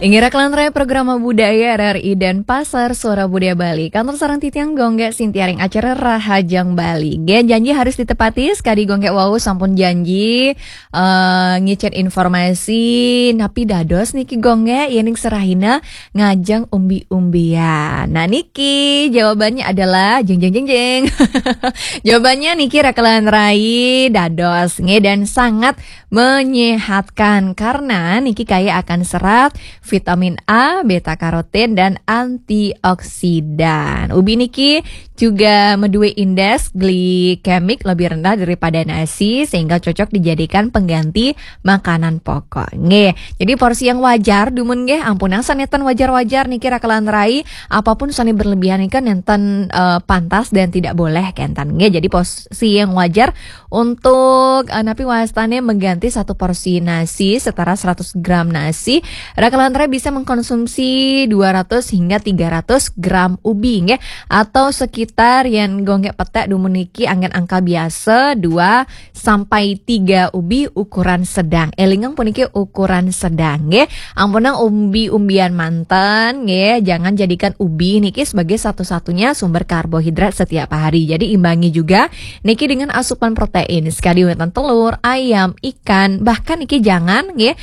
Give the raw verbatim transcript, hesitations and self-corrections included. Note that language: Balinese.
Inggih raka lan rai, program budaya R R I Denpasar, Suara Budaya Bali. Kantur sareng titiang Gung Gé Sintiaring acara Rahajeng Bali. Nggih, janji harus ditepati, sekadi Gung Gé wau sampun janji eh, ngicén informasi napi dados niki Gung Gé, yéning serahina ngajeng umbi-umbian. Nah, niki jawabannya adalah jeng jeng jeng jeng. Jawabannya niki raka lan rai dados nggih dan sangat menyehatkan karena niki kaya akan serat, vitamin A, beta karotin dan antioksidan. Ubi niki juga medue indeks glikemik lebih rendah daripada nasi sehingga cocok dijadikan pengganti makanan pokok. Nggih. Jadi porsi yang wajar dumun nggih, ampunang sané ten wajar-wajar niki raka lan rai, apapun sané berlebihan niki nénten eh, pantas dan tidak boleh kénten nggih. Jadi porsi yang wajar untuk eh, napi wastané mengganti satu porsi nasi setara seratus gram nasi, raka lan rai bisa mengkonsumsi dua ratus hingga tiga ratus gram ubi nggih, atau sekitar yén Gung Gé petek dumun niki anggén angka biasa dua sampai tiga ubi ukuran sedang. Élingang puniki ukuran sedang nggih. Ampunang umbi-umbian manten nggih, jangan jadikan ubi niki sebagai satu-satunya sumber karbohidrat setiap hari. Jadi imbangi juga niki dengan asupan protein. Sekadi wénten telur, ayam, ikan, bahkan niki jangan nggih